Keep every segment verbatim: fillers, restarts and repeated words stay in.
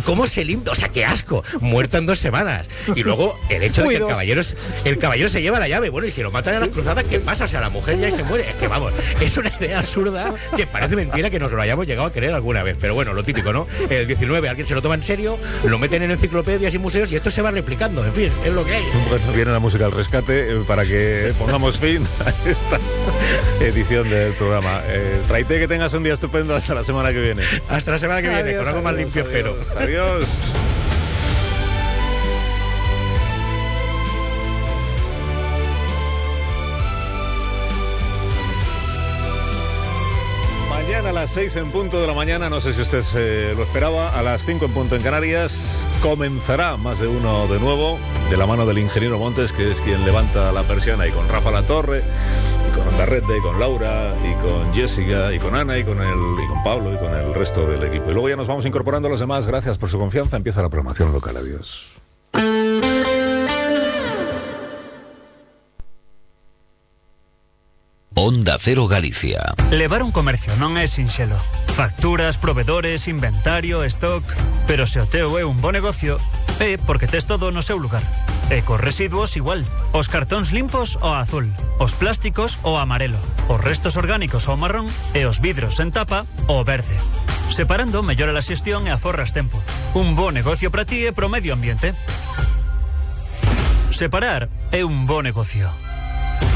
¿Cómo se limpia? O sea, qué asco. Muerto en dos semanas. Y luego el hecho de que el caballero, el caballero se lleva la llave. Bueno, y si lo matan en las cruzadas, ¿qué pasa? O sea, la mujer ya se muere. Es que vamos, es una idea absurda que parece mentira que nos lo hayamos llegado a creer alguna vez. Pero bueno, lo típico, ¿no? El diecinueve alguien se lo toma en serio, lo meten en enciclopedias y museos y esto se va replicando. En fin, es lo que hay. Bueno, viene la música al rescate eh, para que pongamos fin a esta edición del programa. Eh, Traite, que tengas un día estupendo hasta la semana que viene. Hasta la semana que viene, adiós, con algo adiós, más limpio, adiós, espero. Adiós. Mañana a las seis en punto de la mañana, no sé si usted eh, lo esperaba, a las cinco en punto en Canarias, comenzará Más de Uno de nuevo, de la mano del ingeniero Montes, que es quien levanta la persiana, y con Rafa Latorre, y con Andarrete, y con Laura, y con Jessica, y con Ana, y con, el, y con Pablo, y con el resto del equipo. Y luego ya nos vamos incorporando a los demás. Gracias por su confianza. Empieza la programación local. Adiós. Onda Cero Galicia. Levar un comercio non é sinxelo. Facturas, provedores, inventario, stock... Pero se o teu é un bo negocio, é porque tes todo no seu lugar. E cos residuos igual. Os cartóns limpos ao azul, os plásticos ao amarelo, os restos orgánicos ao marrón e os vidros en tapa ao verde. Separando mellora a xestión e aforras tempo. Un bo negocio para ti e pro medio ambiente. Separar é un bo negocio.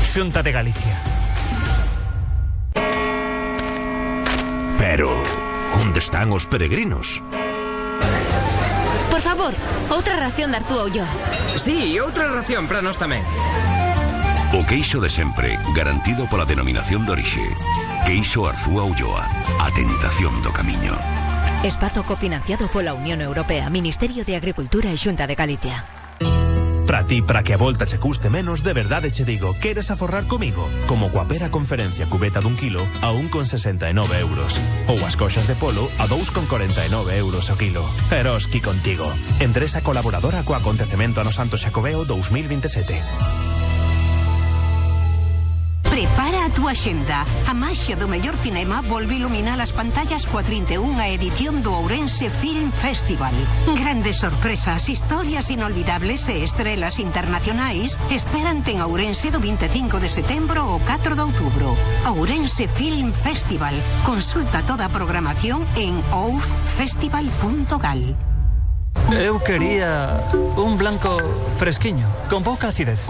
Xunta de Galicia. Pero, onde están os peregrinos? Por favor, outra ración de Artúa Ulloa. Sí, outra ración para nós tamén. O queixo de sempre, garantido pola denominación de orixe. Queixo Arzúa Ulloa, a tentación do camiño. Espazo cofinanciado pola Unión Europea, Ministerio de Agricultura e Xunta de Galicia. Para ti, para que a volta che custe menos, de verdade che digo, queres aforrar comigo? Como coa pera conferencia cubeta dun kilo a un con sesenta e nove euros. Ou as coxas de polo a dous con corenta e nove euros o kilo. Eroski contigo. Empresa colaboradora co acontecemento ano Santo Xacobeo dous mil veintisiete. Prepara a túa xenda. A maxia do mellor cinema volve iluminar as pantallas coa trinta e unha edición do Ourense Film Festival. Grandes sorpresas, historias inolvidables e estrelas internacionais esperante en Ourense do vinte e cinco de setembro ao catro de outubro. Ourense Film Festival. Consulta toda a programación en ouf festival punto gal. Eu quería un blanco fresquiño, con pouca acidez.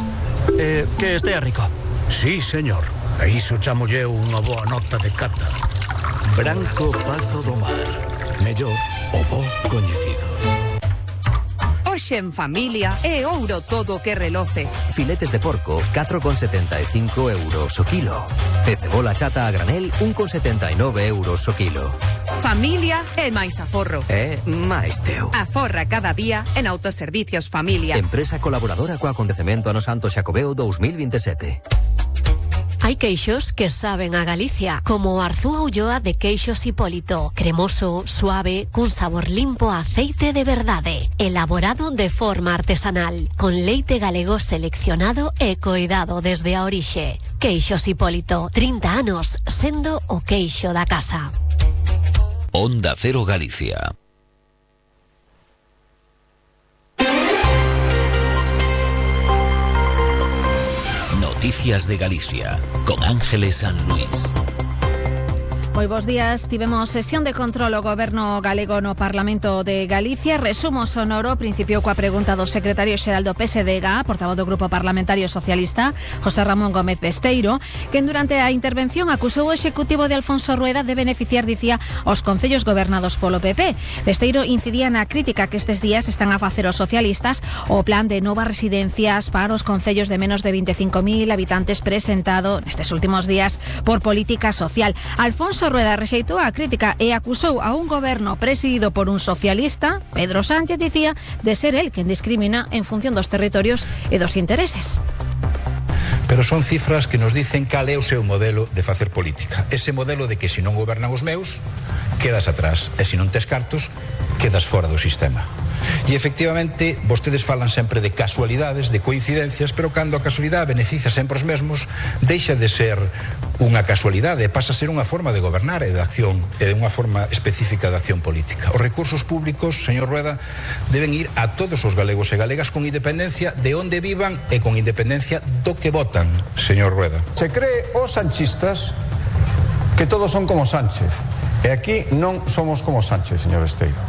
Eh, que estea rico. Sí, señor. A iso chamolle unha boa nota de cata. Branco Pazo do Mar. Mellor o bo coñecido. Hoxe en familia é ouro todo que reloce. Filetes de porco, catro con setenta e cinco euros o kilo. E cebola chata a granel, un con setenta e nove euros o kilo. Familia é máis aforro. É máis teu. Aforra cada día en Autoservicios Familia. Empresa colaboradora co acontecemento ano Santo Xacobeo dous mil veintisiete. Hai queixos que saben a Galicia, como o Arzúa Ulloa de Queixos Hipólito. Cremoso, suave, cun sabor limpo a aceite de verdade. Elaborado de forma artesanal, con leite galego seleccionado e coidado desde a orixe. Queixos Hipólito, trinta anos sendo o queixo da casa. Onda Cero Galicia. Noticias de Galicia, con Ángeles San Luis. Moi bons días, tivemos sesión de control ao Goberno galego no Parlamento de Galicia. Resumo sonoro, principio coa pregunta do secretario xeral do P S D G, portavoz do Grupo Parlamentario Socialista, José Ramón Gómez Besteiro, que durante a intervención acusou o Executivo de Alfonso Rueda de beneficiar, dicía, os concellos gobernados polo P P. Besteiro incidía na crítica que estes días están a facer os socialistas o plan de novas residencias para os concellos de menos de vinte e cinco mil habitantes presentado nestes últimos días por Política Social. Alfonso Rueda rexeitou a crítica e acusou a un goberno presidido por un socialista, Pedro Sánchez, dicía, de ser el quen discrimina en función dos territorios e dos intereses. Pero son cifras que nos dicen cal é o seu modelo de facer política. Ese modelo de que se non gobernan os meus, quedas atrás, e se non tes cartos, quedas fora do sistema. E efectivamente, vostedes falan sempre de casualidades, de coincidencias, pero cando a casualidade beneficia sempre os mesmos, deixa de ser unha casualidade, pasa a ser unha forma de gobernar e de acción, e unha forma específica de acción política. Os recursos públicos, señor Rueda, deben ir a todos os galegos e galegas con independencia de onde vivan e con independencia do que votan, señor Rueda. Se cree os sanchistas que todos son como Sánchez, e aquí non somos como Sánchez, señor Esteiro.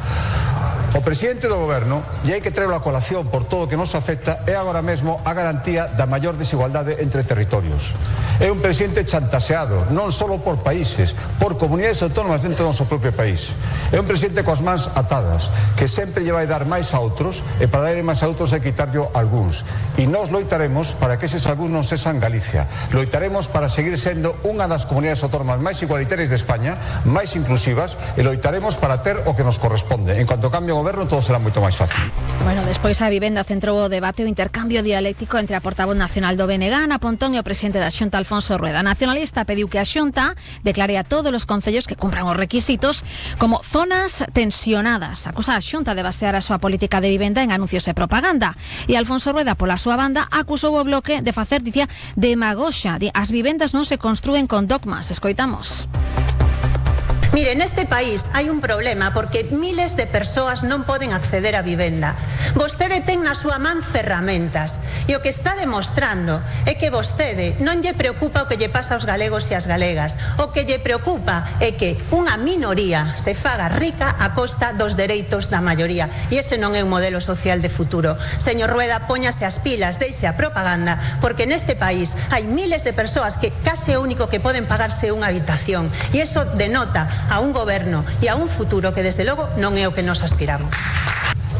O presidente do goberno, e hai que traerlo a colación por todo o que nos afecta, é agora mesmo a garantía da maior desigualdade entre territorios. É un presidente chantaseado, non só por países, por comunidades autónomas dentro do noso propio país. É un presidente coas mans atadas, que sempre lle vai dar máis a outros, e para dar máis a outros hai que quitarlle algúns. E nós loitaremos para que eses algúns non sexan Galicia. Loitaremos para seguir sendo unha das comunidades autónomas máis igualitarias de España, máis inclusivas, e loitaremos para ter o que nos corresponde. En cuanto cambie o goberno, todo será moito máis fácil. Bueno, despois a vivenda centrou o debate o intercambio dialéctico entre a portavoz nacional do B N G, Ana Pontón, e o presidente da Xunta, Alfonso Rueda. Nacionalista pediu que a Xunta declare a todos os concellos que cumpran os requisitos como zonas tensionadas. Acusa a Xunta de basear a súa política de vivenda en anuncios e propaganda. E Alfonso Rueda, pola súa banda, acusou o Bloque de facer, dicía, demagoxa. As vivendas non se construen con dogmas. Escoitamos. Mire, neste país hai un problema porque miles de persoas non poden acceder á vivenda. Vostede ten na súa man ferramentas e o que está demostrando é que vostede non lle preocupa o que lle pasa aos galegos e ás galegas. O que lle preocupa é que unha minoría se faga rica a costa dos dereitos da maioría, e ese non é un modelo social de futuro. Señor Rueda, póñase as pilas, deixe a propaganda, porque neste país hai miles de persoas que case o único que poden pagarse unha habitación, e iso denota a un goberno e a un futuro que desde logo non é o que nos aspiramos.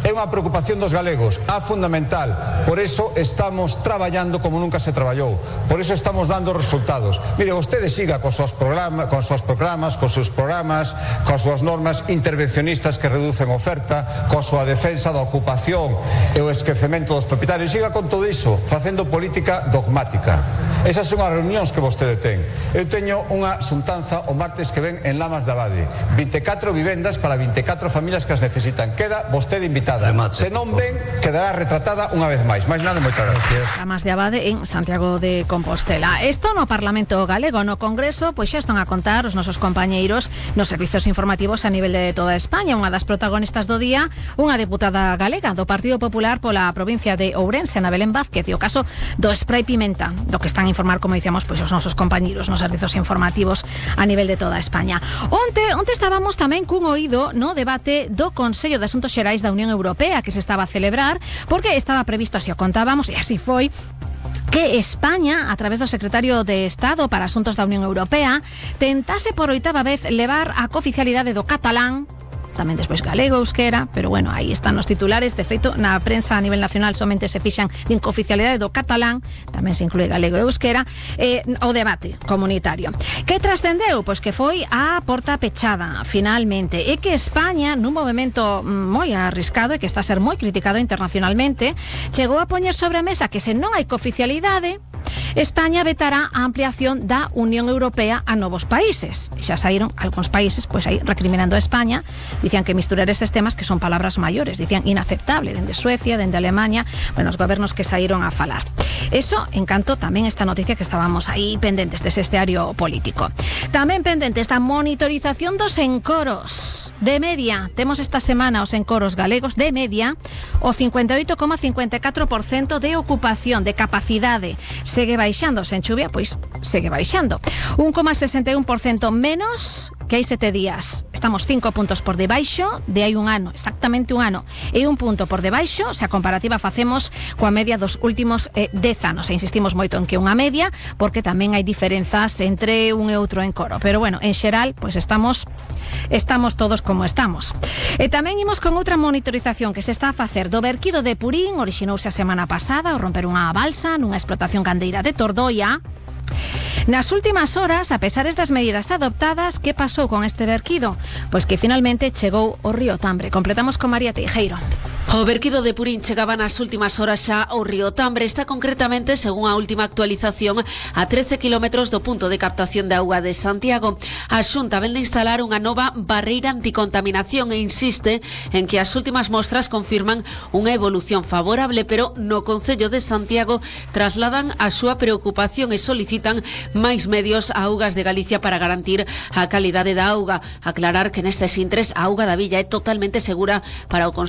É unha preocupación dos galegos, a fundamental. Por eso estamos traballando como nunca se traballou. Por eso estamos dando resultados. Mire, vostede siga cos seus programas, cos seus programas, cos seus programas, cos súas normas intervencionistas que reducen oferta, coa súa defensa da ocupación e o esquecemento dos propietarios. Siga con todo iso, facendo política dogmática. Esas son as reunións que vostede ten. Eu teño unha xuntanza o martes que ven en Lamas de Abade. vinte e catro vivendas para vinte e catro familias que as necesitan. Queda vostede invitada. Se non ven, quedará retratada unha vez máis. Máis nada, moitas gracias. Lamas de Abade en Santiago de Compostela. Isto no Parlamento Galego, no Congreso, pois xa están a contar os nosos compañeiros nos servizos informativos a nivel de toda España. Unha das protagonistas do día, unha deputada galega do Partido Popular pola provincia de Ourense, Ana Belén Vázquez, e o caso do spray pimenta, do que están a informar, como dicíamos, pois os nosos compañeiros nos servizos informativos a nivel de toda España. Onte, onte estábamos tamén cun oído no debate do Consello de Asuntos Xerais da Unión Europea que se estaba a celebrar, porque estaba previsto, así o contábamos, e así foi, que España, a través do secretario de Estado para Asuntos da Unión Europea, tentase por oitava vez levar a cooficialidade do catalán, tamén despois galego, euskera, pero bueno, aí están os titulares. De feito, na prensa a nivel nacional somente se fixan din cooficialidade do catalán, tamén se inclúe galego e euskera, eh, o debate comunitario. Que trascendeu? Pois que foi a porta pechada, finalmente, e que España, nun movimento moi arriscado e que está a ser moi criticado internacionalmente, chegou a poñer sobre a mesa que se non hai cooficialidade, España vetará a ampliación da Unión Europea a novos países. Xa saíron algúns países pois aí recriminando a España, dicían que misturar estes temas que son palabras maiores, dicían inaceptable, dende Suecia, dende Alemania, bueno, os gobernos que saíron a falar. Eso, en canto tamén esta noticia que estábamos aí pendentes dese esteario político. Tamén pendentes da monitorización dos encoros. De media, temos esta semana os encoros galegos, de media, o cincuenta e oito coma cincuenta e catro por cento de ocupación, de capacidade. Segue baixando, sen chuvia, pois segue baixando. un coma sesenta e un por cento menos que hai sete días. Estamos cinco puntos por debaixo de hai un ano, exactamente un ano, e un punto por debaixo, se a comparativa facemos coa media dos últimos eh, dez anos. E insistimos moito en que unha media, porque tamén hai diferenzas entre un e outro encoro. Pero bueno, en xeral, pois estamos estamos todos como estamos. E tamén imos con outra monitorización que se está a facer do verquido de Purín. Orixinouse a semana pasada ao romper unha balsa nunha explotación gandeira de Tordoia. Nas últimas horas, a pesar das medidas adoptadas, que pasou con este verquido? Pois que finalmente chegou o río Tambre. Completamos con María Teijeiro. O verquido de Purín chegaba nas últimas horas xa ao río Tambre. Está concretamente, según a última actualización, a trece kilómetros do punto de captación de auga de Santiago. A Xunta ven de instalar unha nova barreira anticontaminación e insiste en que as últimas mostras confirman unha evolución favorable, pero no Concello de Santiago trasladan a súa preocupación e solicitan máis medios a Augas de Galicia para garantir a calidade da auga. Aclarar que nestes intres a auga da villa é totalmente segura para o consumo